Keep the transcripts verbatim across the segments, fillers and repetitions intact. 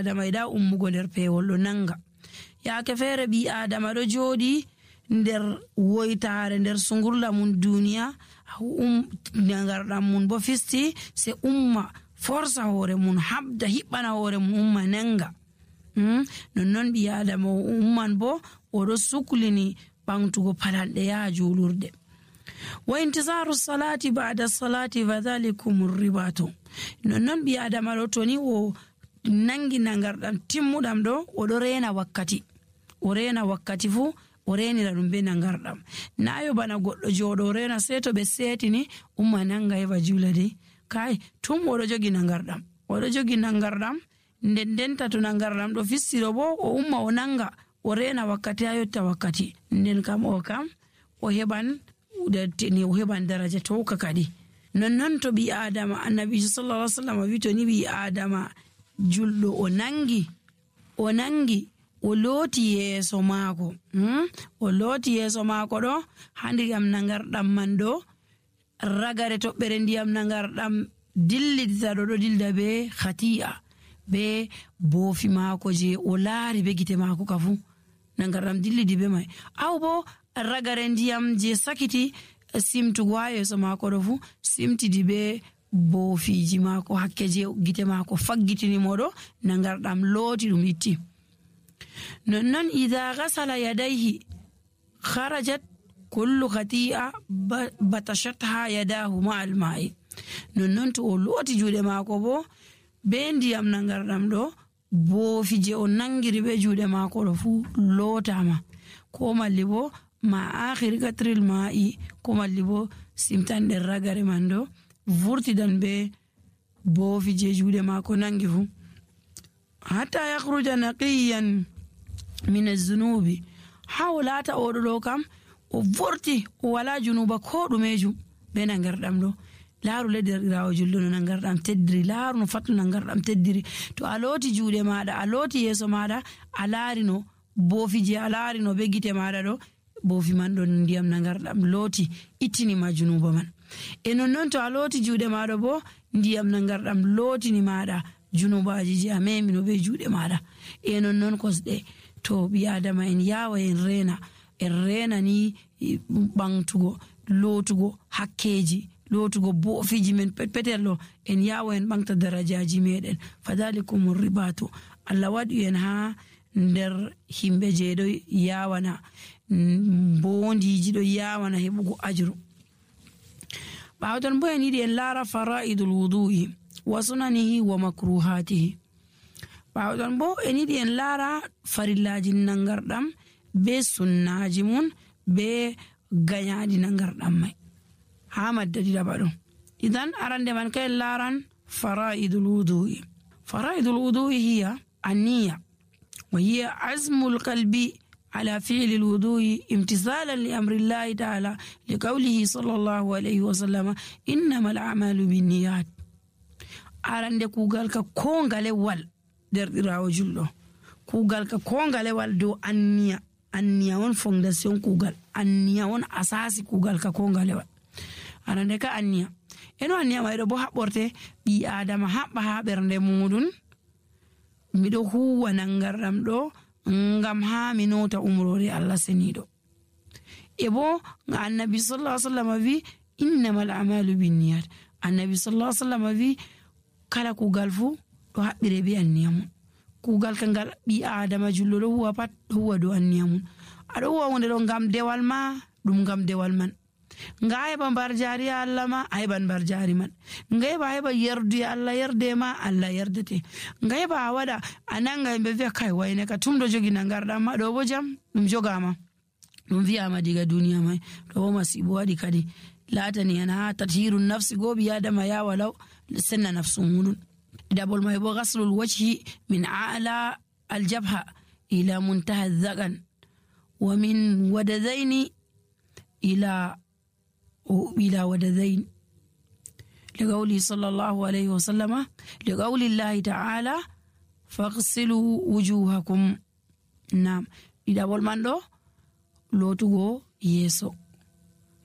adama ida ummugo nder pewol do nanga. yaake fere bi adama do jodi nder woytaare nder sungurla mun duniya um nangardam mun bo fisti se umma forsa hore mun habda hibbana hore mun umma nanga. hmm? non bi adama umman bo odo suklini bangtugo palalde ya julurde. wa intizaru salati ba'da salati fadhalikum ar-ribatu. non bi adama do toni o nangi nangardam timmudam do odo rena wakkati o rena wakkati fu o renira dum be nangardam. nayo bana goddo jodo rena seto be setini umma nanga eva julade kai tum odo jogi nangardam odo jogi nangardam nden denta to nangardam do fissiro bo o umma o nanga o rena wakkati ayotta wakkati nden kam o kam o heban udetini o heban daraja to kakadi. non to bi adama annabi sallallahu alaihi wasallam wi to ni bi adama juldo o nangi o nangi o loti yeso maako hmm? o loti yeso maako do handiyam nangardam man do ragare toɓɓere ndiyam nangardam dillidita do do dilda be khati'a be boofi maako je o laari be gite maako kafu nangardam dillidi be mai aw bo ragare ndiyam je sakiti simtugo ha yeso maako do fu simtidi be boofiji maako hakke je gite maako faggitini modo nangardam looti dum itti. non idha ghasala yadayhi kharajat kullu khati'a batashatha yadahu ma'al ma'i. non to o looti juude maako bo be ndiyam nangardam do boofije o nangiri be juude maako do fu lootama ko malli bo ma akhir qatril ma'i ko malli bo simtande ragare mando vurti dan be boofije juude maako nangi fu hatta yakhruja naqiyan min az-zunubi hawlata odo kam o vorti o wala junuba ko dumeju be nangardam do laaru ledirawo juldo no nangardam teddiri laaru no fatu nangardam teddiri to aloti juude maada aloti yeso maada alarino boofije alarino be gite maada do boofi man don ndiyam nangardam loti ittini ma junuba man. e non non to aloti juude maada bo ndiyam nangardam lotini maada junubaji je amemi no be juude maada. e non non kosde to bi adama en yawa en rena en rena ni bangtugo lotugo hakkeji lotugo boofiji men petello en yawa en bangta darajaji meden fadalikum ribatu. Allah wadi en ha nder himbe je do yawana bondiji do yawana hebugo ajru. bawdan bo en yidi en lara faraidul wudu'i wa sunanihi wa makruhatihi. bawdan bo en yidi en lara farillaji nangardam be sunnaji mun be ganyadi nangardam mai ha maddadi da bado. idan arande man kay laran faraidul wudu'i. faraidul wudu'i hiya an-niyya wa hiya azmul qalbi على فعل الوضوء امتثالا لأمر الله تعالى لقوله صلى الله عليه وسلم إنما الأعمال بالنيات. arande kugal ka kongale wal der dirawo jullo kugal ka kongale wal do anniya anniya won fondation kugal anniya won asasi kugal ka kongale wal arande ka anniya eno anniya maydo bo habborte bi adama habba ha bernde mudun mido huwa nangardam do ngam ha minota umrore Allah senido. ebo annabi sallallahu alaihi wasallam vi innamal a'malu binniyat. annabi sallallahu alaihi wasallam vi kala kugal fu do habbire bi anniyam kugal kangal bi adama jullo do huwa pat huwa do anniyam ado huwa wonde do ngam dewal ma dum ngam dewal man ngaay ba bar jari Allah ma ay ban bar jari man ngaay ba ay ba yerdu Allah yerde ma Allah yerdete ngaay ba wada ananga be ve kai wayne ka tumdo jogi nangarda ma do bo jam dum jogama dum wi'a ma diga duniya mai do masibo wadi kadi latani ana tathirun nafsi go bi adama ya walau sanna nafsun hunun dabol mai bo ghaslul wajhi min a'la aljabha ila muntaha adh-dhagan wa min wadadaini ila إلى ودذين لقوله صلى الله عليه وسلم لقول الله تعالى فاغسلوا وجوهكم. نعم إذا والمان دو لو تغو يسو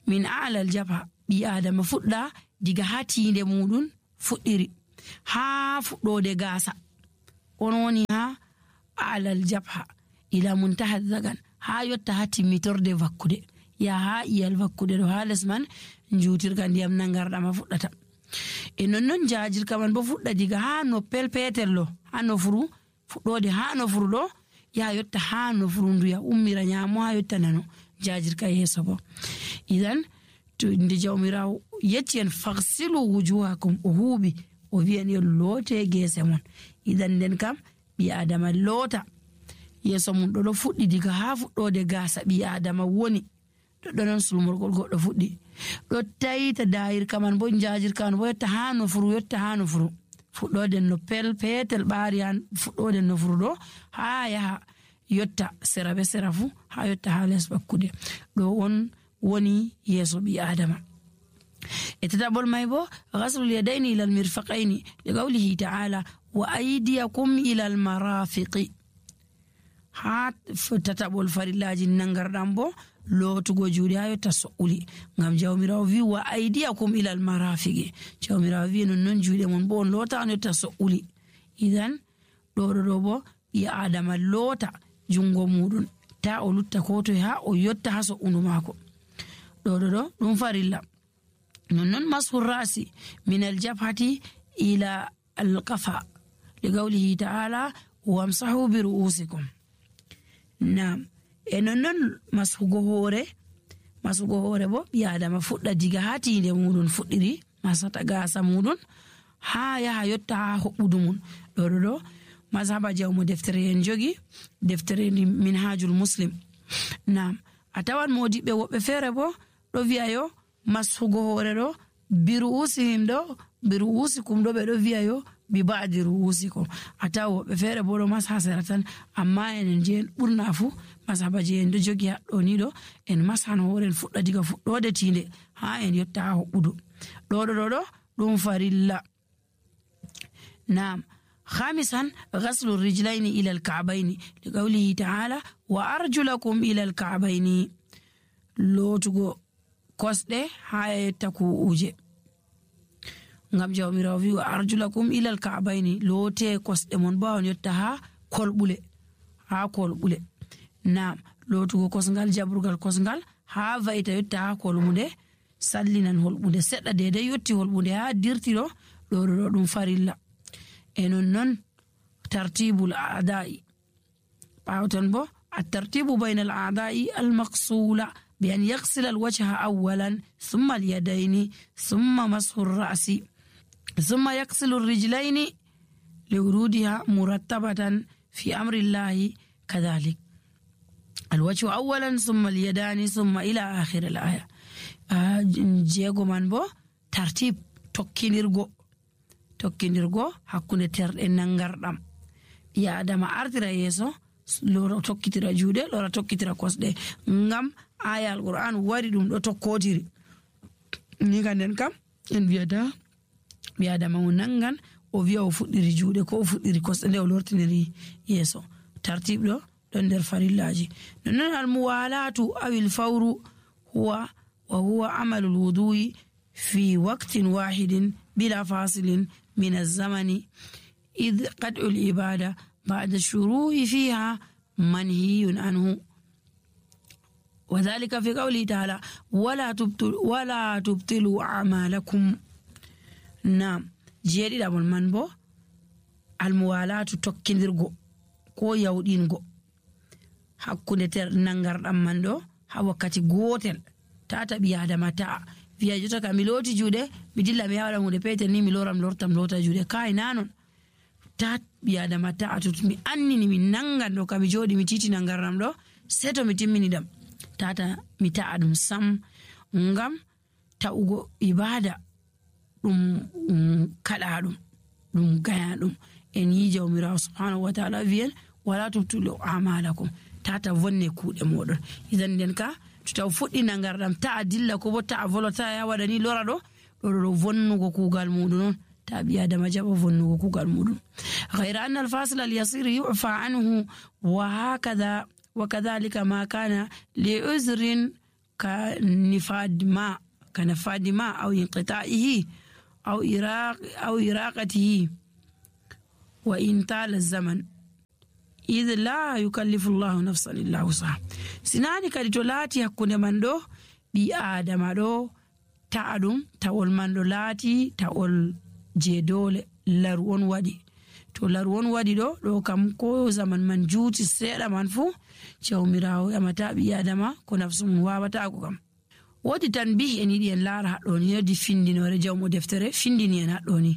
من أعلى الجبهة بي آدم فؤلا ديغا هاتي دي مودون فؤيري ها فؤلو دي غاسا on woni ha alal jabha ila muntaha zagan ha yotta ha timmitorde vakkude ya ha iyal vakkude do ha les man njutirga ndiyam nangarɗama fuɗɗata e nonnon jajirka man bo fuɗɗa diga ha no pelpetel lo ha no furu fuɗɗode ha no furu ɗo ya yotta ha no furu nduya ummira nyamo ha yotta nano jajirka yeso bo idan to nde jawmirawo yecci en faghsilu wujuhakum o huuɓi o wi'en yo loote gese mon idan nden kam ɓi adama loota yeso mum ɗo ɗo fuɗɗi diga ha fuɗɗode gasa ɓi adama woni ɗo non sulmorgol goɗɗo fuɗɗi ɗo tayita dayirka man bo jajirka man bo yotta ha no furu yotta ha no furu fuɗɗoden no pel petel ɓaari han fuɗɗoden no furu ɗo ha yaha yotta sera be sera fu ha yotta ha les bakkude ɗo on woni yeso ɓi adama e tataɓol may bo ghaslul yadayni ila almirfaqayni li qawlihi ta'ala wa aydiyakum ila almarafiqi ha tataɓol farillaji nangarɗam bo lootugo juuɗe ha yotta so'uli ngam jawmirawo wi wa aydiyakum ila almarafiqi jawmirawo wi non non juuɗe mon bo on loota on yotta so'uli idan ɗo ɗo ɗo bo ɓi adama loota jungo muɗum ta o lutta ko toye ha o yotta ha so'undu maako ɗo ɗo ɗo ɗum farilla nonnon mashu rasi min aljabhati ila alqafa li qawlihi ta'ala wamsahu bi ru'usikum nam e nonnon mashugo hoore mashugo hoore bo ɓi adama fuɗɗa diga ha tinde muɗum fuɗɗiri masata gasa muɗum ha yaha yotta ha hoɓɓudu mum ɗo ɗo ɗo mazhaba jawmo deftere en jogi deftere minhajul muslim nam a tawan modiɓɓe woɓɓe feere bo ɗo wi'a yo mashugo hoore ɗo bi ru'usihim ɗo bi ru'usikum ɗo ɓe ɗo wi'a yo bi ba'di ru'usikum a tawa woɓɓe feere bo ɗo masha sera tan amma enen je en ɓurna fu mazhaba je en ɗo jogi haɗɗo ni ɗo en mashan hoore en fuɗɗa diga fuɗɗode tinde ha en yotta ha hoɓɓudu ɗo ɗo ɗo ɗo ɗum farilla nam خامسا غسل الرجلين إلى الكعبين لقوله تعالى وأرجلكم إلى الكعبين لوتغو كوسده هاي تكو أوجي ngam jawmirawo wi wa arjulakum ila alka'baini lote kosde mon bawon yotta ha kolbule ha kolbule nam lotugo kosngal jabrugal kosngal ha vaita yotta ha kolmude sallinan holbude sedda dede yotti holbude ha dirtiro do do dum farilla e non non tartibul a'da'i bawton bo at-tartibu bayna al-a'da'i al-maqsula bi an yaghsila al-wajha awwalan thumma al-yadayni thumma mashu ar-ra'si thumma yaghsilu ar-rijlayni liwurudiha murattabatan fi amri Allah kadhalik al-wajhu awwalan thumma al-yadani thumma ila akhir al-aya jego man bo tartib tokkinirgo tokkinirgo hakkunde terɗe nangarɗam ya adama artira yeso lora tokkitira juuɗe lora tokkitira kosɗe ngam aya alquran wari ɗum ɗo tokkotiri ni kanden kam en wiyata ɓi adama o nangan o wiya o fuɗɗiri juuɗe ko o fuɗɗiri kosɗe nde o lortiniri yeso tartib ɗo ɗon nder farillaji nonnon almuwalatu awil fawru huwa wa huwa amalu lwudu'i fi waqtin wahidin bila fasilin من الزمن إذ قطع العبادة بعد الشروع فيها منهي عنه وذلك في قوله تعالى ولا تبطلوا ولا تبطلوا أعمالكم نعم جيري دابل منبو الموالاة تكندرغو كو يودينغو hakkunde ter nangarɗam man ɗo ha wakkati gotel tata ɓi adama ta'a wiya jota ka mi looti juuɗe mi dilla mi yawaɗa hunde petel ni mi loram lortam lota juuɗe kai nanon ta ɓi adama ta'a to mi annini mi nangan ɗo ka mi jooɗi mi titi nangarɗam ɗo sei to mi timmini ɗam tata mi ta'a ɗum sam ngam ta'ugo ibada ɗum kaɗa ɗum ɗum gaya ɗum en yi jawmirawo subhanahu wa ta'ala wiyen wala tubtilu a'malakum tata vonne kuuɗe moɗon idan nden ka to taw fuɗɗi nangarɗam ta'a dilla ko bo ta'a volota ya waɗani lora ɗo ɗo ɗo vonnugo kuugal muɗum non ta ɓi adama jaɓa vonnugo kuugal muɗum غير أن الفاصل اليسير يعفى عنه وهكذا وكذلك ما كان لعذر كنفاد ماء كنفاد ماء أو انقطاعه أو إراق أو إراقته wa in tala zaman idh la yukallifu llahu nafsan illa wusaha. sinani kadi to laati hakkunde man ɗo ɓi adama ɗo ta'a ɗum tawol man ɗo laati tawol je dole laru on waɗi. to laru on waɗi ɗo ɗo kam ko zaman man juuti seeɗa man fuu jawmirawo yamata ɓi adama ko nafsu mum wawatako kam. wodi tan bi en yiɗi en laara haɗɗoni yodi findinore jawmo deftere findini en haɗɗoni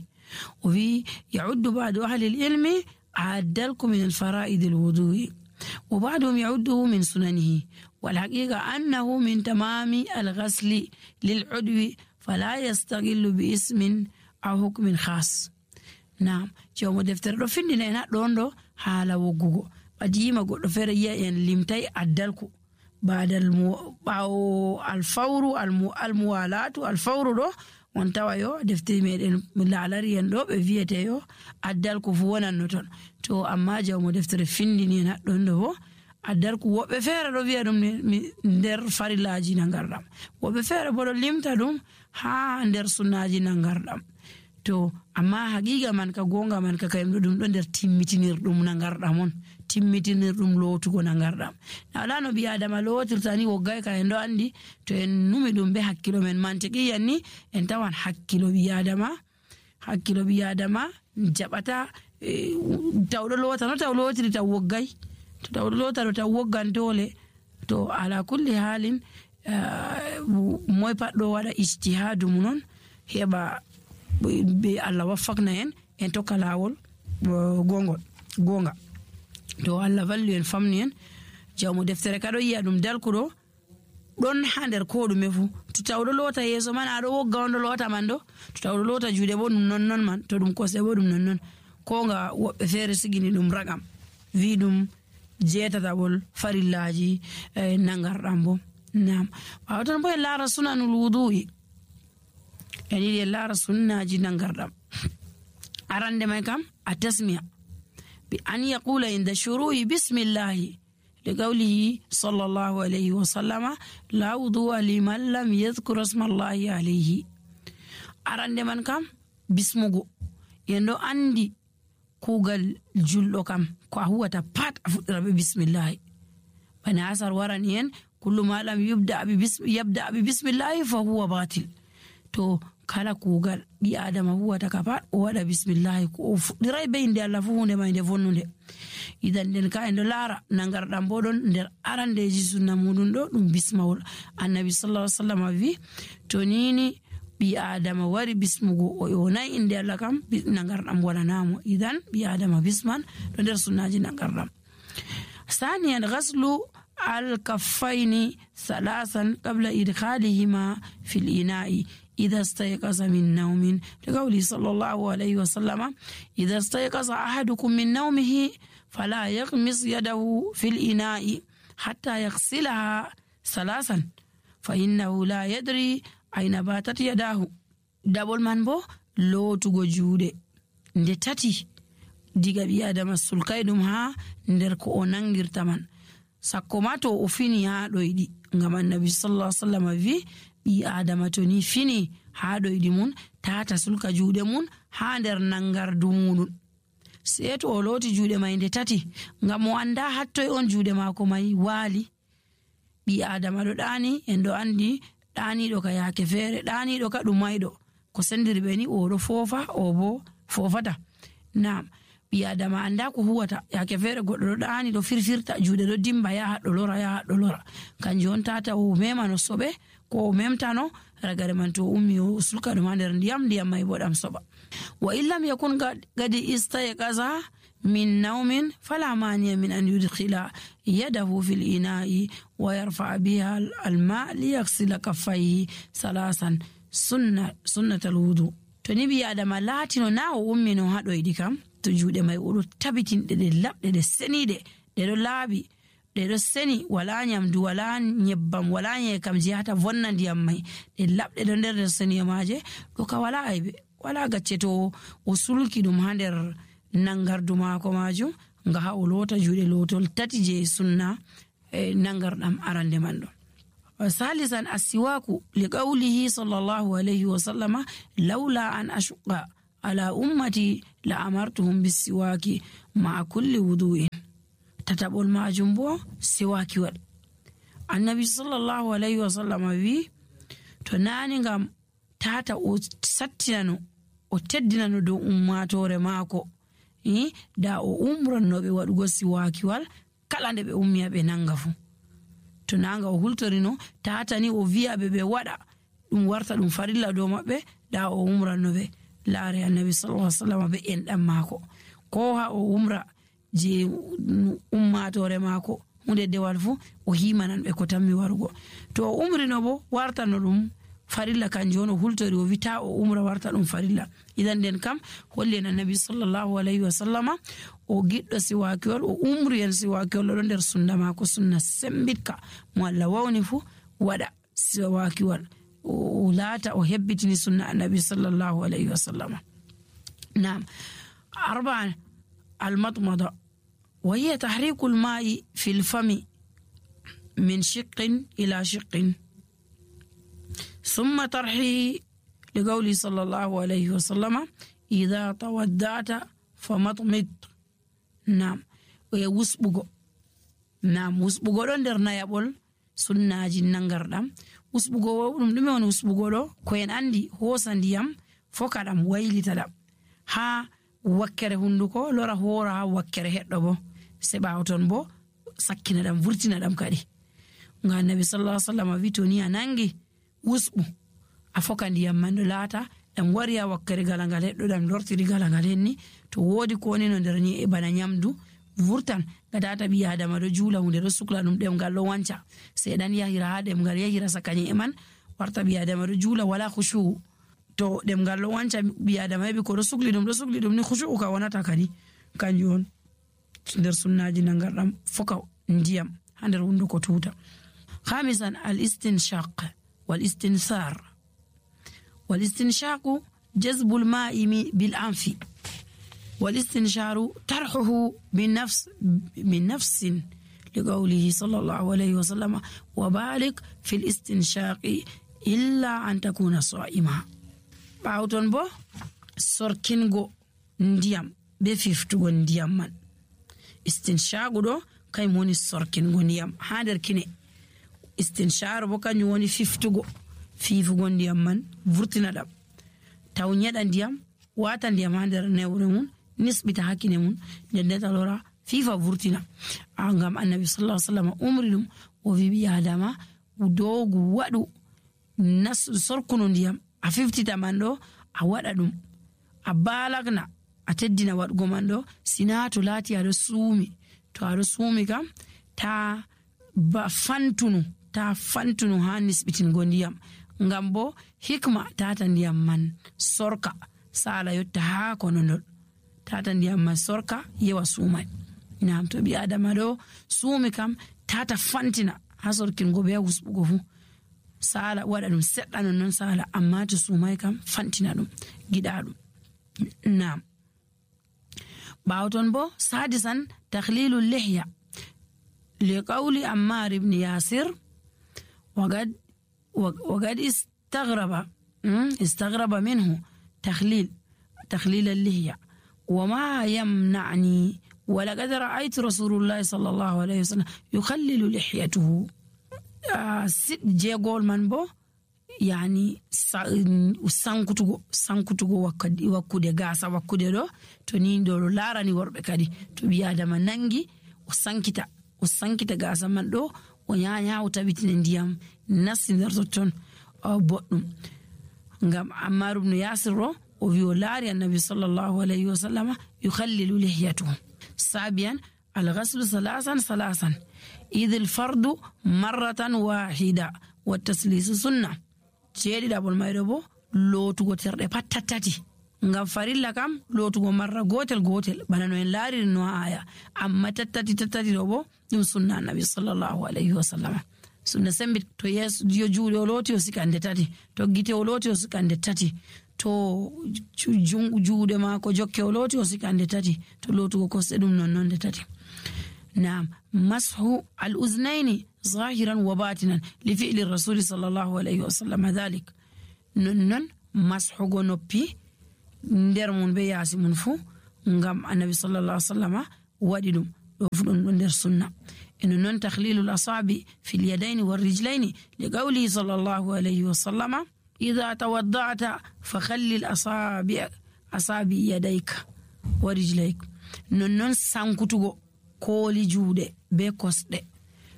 o wi yauddu ba'du ahli ilmi addalku min alfara'id alwudu'i wa ba'duhum yaudduhu min sunanihi wal haqiqa annahu min tamami alghasli lil'udwi fala yastaghillu bi ismin aw hukmin khas. Naam, jawmo deftere ɗo findina en haɗɗon ɗo haala woggugo ɓadima goɗɗo feere yi'a en limtay addalku badal ɓawo alfawru almuwalatu alfawru ɗo on tawa yo deftere meɗen laalari en ɗo ɓe wiyete yo addalku fu wonanno ton. to amma jawmo deftere findini en haɗɗon ɗo bo addalku woɓɓe feere ɗo wiya ɗum nder farillaji nangarɗam, woɓɓe feere bo ɗo limta ɗum ha nder sunnaji nangarɗam. to amma haqiqa man ka gonga man ka kayum ɗo ɗum ɗo nder timmitinirɗum nangarɗam on, timmitinirɗum lootugo nangarɗam. na wala no ɓi adama lootirta ni woggay ka en ɗo andi to en numi ɗum be hakkilo men mantiqiyan ni en tawan hakkilo ɓi adama hakkilo ɓi adama jaɓata tawɗo loota no taw lootiri taw woggay, to tawɗo loota ɗo taw woggan dole. to ala kulli halin moy pat ɗo waɗa ijtihadu mum non heɓa be Allah waffakna en en tokka lawol gongol gonga. to Allah vallu en famni en jawmo deftere kaɗo yi'a ɗum dalkuɗo ɗon ha nder ko ɗume fu. to tawɗo loota yeeso man aɗo wogga on ɗo loota man ɗo, to tawɗo loota juuɗe bo ɗum nonnon man, to ɗum kosɗe bo ɗum nonnon. ko nga woɓɓe feere sigini ɗum ragam wi ɗum jeetataɓol farillaji nangarɗam bo. nam ɓawa tan bo en laara sunanul wudu'i en yiɗi en laara sunnaji nangarɗam. arande may kam a tasmiya bi an yaqula inda shuru'i bismillahi li qawlihi sallallahu alayhi wa sallama la wudu'a liman lam yadhkur ismallahi alayhi. arande man kam bismugo en ɗo andi kugal julɗo kam ko a huwata pat a fuɗɗira be bismillahi. bani asar warani en kullu ma lam yubda bi bismillahi fa huwa batil. to kala kugal ɓi adama huwata ka pat o waɗa bismillahi ko o fuɗɗiray be inde Allah fu hunde may nde vonnude. idan nden ka en ɗo laara nangarɗam bo ɗon nder arandeji sunna muɗum ɗo ɗum bismawol. annabi sallallahu alaihi wasallam wi to nini ɓi adama wari bismugo o yonay inde Allah kam nangarɗam walanamo. idan ɓi adama bisman ɗo nder sunnaji nangarɗam. ثانيا غسل الكفين ثلاثا قبل إدخالهما في الإناء إذا استيقظ من نوم لقوله صلى الله عليه وسلم إذا استيقظ أحدكم من نومه فلا يغمس يده في الإناء حتى يغسلها ثلاثا فإنه لا يدري أين باتت يداه. دبل من بو لو تغو جودة nde tati diga ɓi adama sulkay ɗum ha nder ko o nangirta man sakko ma to o fini ha ɗoyɗi. ngam annabi sallallahu alaihi wasallam wi ɓi adama to ni fini ha ɗoyɗi mun tata sulka juuɗe mun ha nder nangardu muɗum sei to o looti juuɗe may nde tati ngam o anda hattoy on juuɗe maako may waali. ɓi adama ɗo ɗani en ɗo andi ɗaniɗo ka yaake feere ɗaniɗo ka ɗum mayɗo ko sendiri ɓe ni oɗo foofa o bo fofata. nam ɓi adama anda ko huwata yaake feere goɗɗo ɗo ɗani ɗo firfirta juuɗe ɗo dimba yaha ɗo lora yaha ɗo lora kanjum on tata o memano soɓe ko o memtano ragare man to ummi o sulka ɗum ha nder ndiyam ndiyam may bo ɗam soɓa. wa illam yakun gadi istayqaza min naumin fala maniya min an yudkhila yadahu fil ina'i wa yarfa biha alma liyaghsila kaffayhi salasan sunna sunnatal wudu. to ni ɓi adama laatino na o ummino ha ɗoyɗi kam to juuɗe may oɗo tabitinɗe ɗe laɓɗe ɗe seniɗe ɗe ɗo laaɓi ɗe ɗo seni wala nyamdu wala nyebbam wala nyekam jeyata vonna ndiyam may ɗe laɓɗe ɗo nder nder seniyomaje ɗo ka wala aybe wala gacce to o sulki ɗum ha nder nangardu maako majum nga ha o loota juuɗe lootol tati je sunna e nangarɗam arande man ɗo. ثالثا السواك لقوله صلى الله عليه وسلم لولا أن أشق على أمتي لأمرتهم بالسواك مع كل وضوء تتبع المعجم سواك ول النبي صلى الله عليه وسلم وي تناني غام تاتا او ساتينانو o teddinano dow ummatore maako i da o umrannoɓe waɗugo siwakiwal kala nde ɓe ummiya ɓe nanga fu to nanga o hultorino tatani o wi'aɓe ɓe waɗa ɗum warta ɗum farilla dow maɓɓe da o umrannoɓe laare annabi sallallahu alaihi wasallam be enɗam maako ko ha o umra je ummatore maako hunde dewal fu o himanan ɓe ko tammi warugo to o umrino bo wartano ɗum farilla kanjum on o hultori o wita o umra warta ɗum farilla idan nden kam holli en annabi sallallahu alaihi wasallama o giɗɗo siwakiwol o umri en siwakiwol ɗo nder sunna maako sunna sembitka mo Allah wawni fu waɗa siwakiwol o laata o hebbitini sunna annabi sallallahu alaihi wasallama نعم أربعة المضمضة وهي تحريك الماء في الفم من شق إلى شق ثم طرحه لقوله صلى الله عليه وسلم إذا تودعت فمضمض نعم ويوسبغو نعم وسبغو دون در نيابول sunnaji nangardam usbugo dum dume woni usbugo do ko en andi hosandiyam fokadam waylitadam ha wakkere hunduko lora hora ha wakkere heddo bo se bawton bo sakkina dam vurtina dam kadi nga nabi sallallahu alaihi wasallam vitoni anangi usbu afokandiyam mando lata dam wariya wakkere galangal heddo dam lortiri galangal henni to wodi ko ni no der ni e bana nyamdu vurtan gadata bi adama do jula hunde do sukla dum dem gal do wanca se dan yahira ha dem gal yahira sakani e man warta bi adama do jula wala khushu to dem gal do wanca bi adama bi ko do sukli dum do sukli dum ni khushu ka wonata kadi kanjon der sunnaji nangardam foka ndiyam hander wundo ko tuta khamisan al istinshaq wal istinthar wal istinshaq jazb al ma'i bil anfi والاستنشار طرحه من نفس من نفس لقوله صلى الله عليه وسلم وبالغ في الاستنشاق إلا أن تكون صائما باوتون بو سوركينغو نديام بفيفتو نديام من استنشاق دو كاي موني سوركينغو نديام هادر كيني استنشار بو كاني وني فيفتو فيفو نديام من فورتينا دام تاو نيدا نديام واتا نديام هادر نيورمون nisbita hakine mun den talora fifa vurtina angam annabi sallallahu alaihi wasallam umridum o vibi adama dogu wadu nas sorkuno ndiyam a fiftita mando a wada dum a balagna a teddina wadgo mando sinato lati ado sumi to ado sumi kam ta ba fantunu ta fantunu ha nisbitin gondiyam ngam bo hikma tata ndiyam man sorka sala yotta ha kono tata ndiyam ma sorka yewa sumai nam to bi adama do sumi kam tata fantina ha sorkin go be husbugo fu sala wada dum sedda non non sala amma to sumai kam fantina dum gida dum nam bawton bo sadisan takhlilul lihya li qawli ammar ibn yasir waqad waqad istaghraba istaghraba minhu takhlil takhlil al-lihya وما يمنعني ولقد رأيت رسول الله صلى الله عليه وسلم يخلل لحيته سيد جيغول من بو يعني سانكوتو سانكوتو وكدي وكودي غاسا وكودي دو تو نين دو لاراني وربه كادي تو بي ادم نانغي وسانكيتا وسانكيتا غاسا من دو ونيا o tabitin ndiyam nasinderto ton boddum ngam Ammar ibn Yasir وفيولاري النبي صلى الله عليه وسلم يخلل لحيته. سابعا الغسل ثلاثا ثلاثا إذ الفرد مرة واحدة والتسليس سنة جيدي دابل مايربو لو تغو ترده پتتاتي ngam farilla kam lotugo marra gotel gotel bana no en laari no aya amma tattati tattati do bo dum sunna annabi sallallahu alaihi wasallam sunna sembi to yes dio juude o loti o sikande tati to gite o loti o sikande tati to juude ma ko jokke o loti o sikande tati to lotugo ko sedum non non de tati نعم مسح الأذنين ظاهرا وباطنا لفعل الرسول صلى الله عليه وسلم ذلك نن مسح نوبي nder mun be yaasi mun fuu ngam annabi sallallahu alaihi wasallama waɗi ɗum ɗo fu ɗum ɗo nder sunna. eno noon tahlilul asabi fil yadaini war rijlaini li qawli sallallahu alaihi wasallama idha tawadda'ta fa khallil asabi asabi yadayka wa rijlayka. non noon sankutugo kooli juuɗe be kosɗe,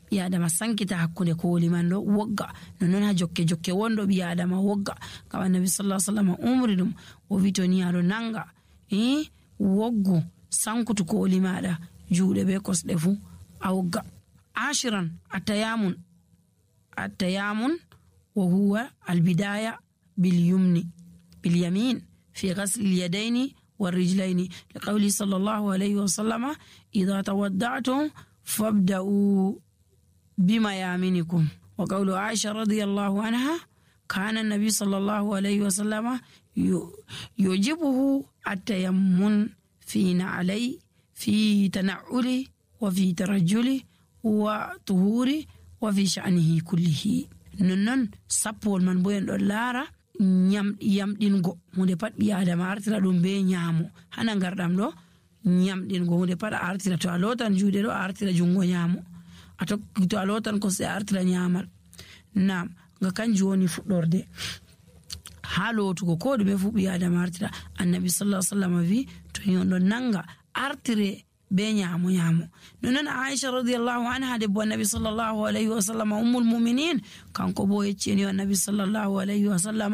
ɓi adama sankita hakkunde kooli man ɗo wogga, non noon ha jokke jokke wondo ɓi adama wogga, ngam annabi sallallahu alaihi wasallam umri ɗum o wi to ni aɗo nanga eh woggu sankutu kooli maɗa juuɗe be kosɗe fu a wogga. ashiran atayamun atayamun wa huwa albidaya bil yumni bil yamin fi ghasl al yadaini wal rijlaini li qawli sallallahu alayhi wa sallama idha tawadda'tum fabda'u bima yaminikum. wa qawlu Aisha radiyallahu anha kana an-nabi sallallahu alayhi wa sallama yujibuhu at-tayammun fi na'alai fi tana'uli wa fi tarajjuli wa tuhuri wa fi sha'nihi kullihi. nonnon sappol man bo en ɗon laara yamɗingo hunde pat ɓi adama artira ɗum be ñaamo. hana garɗam ɗo yamɗingo hunde pat a artira, to a lotan juuɗe ɗo a artira jungo ñaamo, to a lotan kosɗe a artira ñaamal. nam nga kanjum woni fuɗɗorde ha lotugo ko ɗume fu ɓi adama artira. annabi sallallahu alaihi wasallam wi to yon ɗon nanga artire be ñaamo ñaamo. nonon Aisha radiyallahu anha debbo annabi sallallahu alaihi wasallam ummul mu'minin kanko bo yecceni annabi sallallahu alaihi wasallam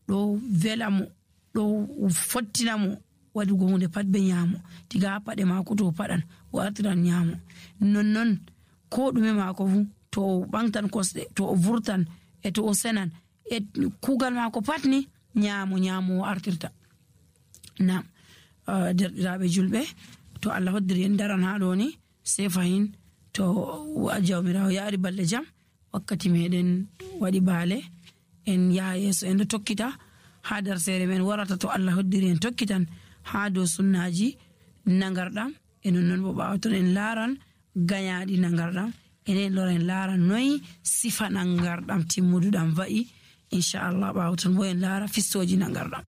ɗo vela mo ɗo fottina mo waɗugo hunde pat be ñaamo. tiga ha paɗe mako to paɗan o artiran ñaamo, nonnon ko ɗume mako fu to o ɓangtan kosɗe, to o vurtan e to o senan e kugal mako pat ni ñaamo ñaamo o artirta. nam derɗiraɓe julɓe, to Allah hoddiri en daran ha ɗo ni sai fahin to jawmirawo yaari balɗe jam wakkati meɗen waɗi baale en yaha yeeso en ɗo tokkita ha darsere men warata to Allah hoddiri en tokkitan ha dow sunnaji nagarɗam. e non noon bo ɓawaton en laaran gañaɗi nagarɗam, enen lora en laara noyi sifa nagarɗam timmuduɗam wa'i inchallah. ɓawaton bo en laara fistoji nagarɗam.